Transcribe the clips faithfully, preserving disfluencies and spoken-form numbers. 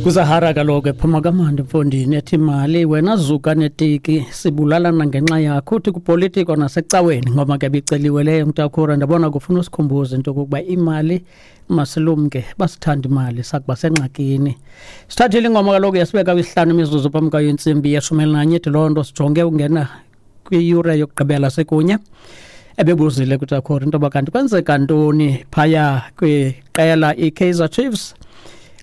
Kuzahara kaloku ephuma kamandi mfondini ethi mali wena zuka netiki sibulalana ngenxa yakho uthi kupolitiko nasecaweni ngoba ke biceliwe leyo mntakhura. Ndabona kufuna usikhumbuze into yokokuba imali masilumke, basithanda imali sakuba sengxakini. Sithathile ingoma kaloku yasibeka kwisihlanu imizuzu phambi kwayo intsimbi yeshumi elinanye, ithi loo nto sijonge ungena kwiyure yokugqibela sekunye. Ebebuzile kuTakhori into yoba kanti kwenzeka ntoni phaya kwiqela iKaizer Chiefs.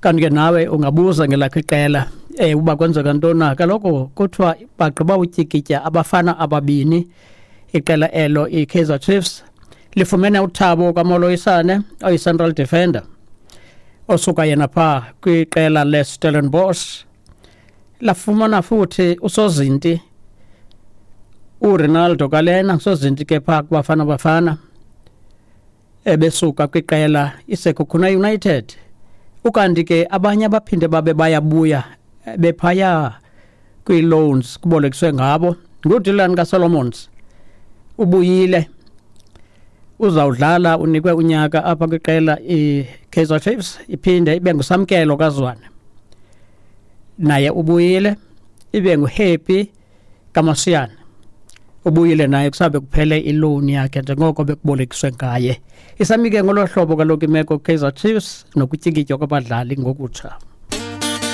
Kanti ke nawe ungabuza ngelakho iqela eh uba kwenzeka ntoni na. Kaloku kuthiwa bagqiba utyikitya abafana ababini, iqela elo iKaizer Chiefs lifumene uThabo kaMoloisane oyi-central defender osuka yena phaa kwiqela leStellenbosch, lafumana futhi usozinti uRonaldo Kalena, usozinti ke phaa kuBafana Bafana ebesuka kwiqela iSekhukhune United. Ukanti ke abanye abaphinde babe bayabuya bephaya kwii-loans kubolekiswe ngabo nguDylan kaSolomons, ubuyile uzawudlala, unikwe unyaka apha kwiqela iKaizer Chiefs. Iphinde ibe nguSamkelo kaZwane, naye ubuyile. Ibe nguHappy kaMasiyane, ubuyile naye kusabe kuphele iloan yakhe njengoko bekubolekiswe ngaye. Isamike ngolo hlobo kaloku imeko Kaizer Chiefs nokutyikitywa kwabadlali ngokutsha.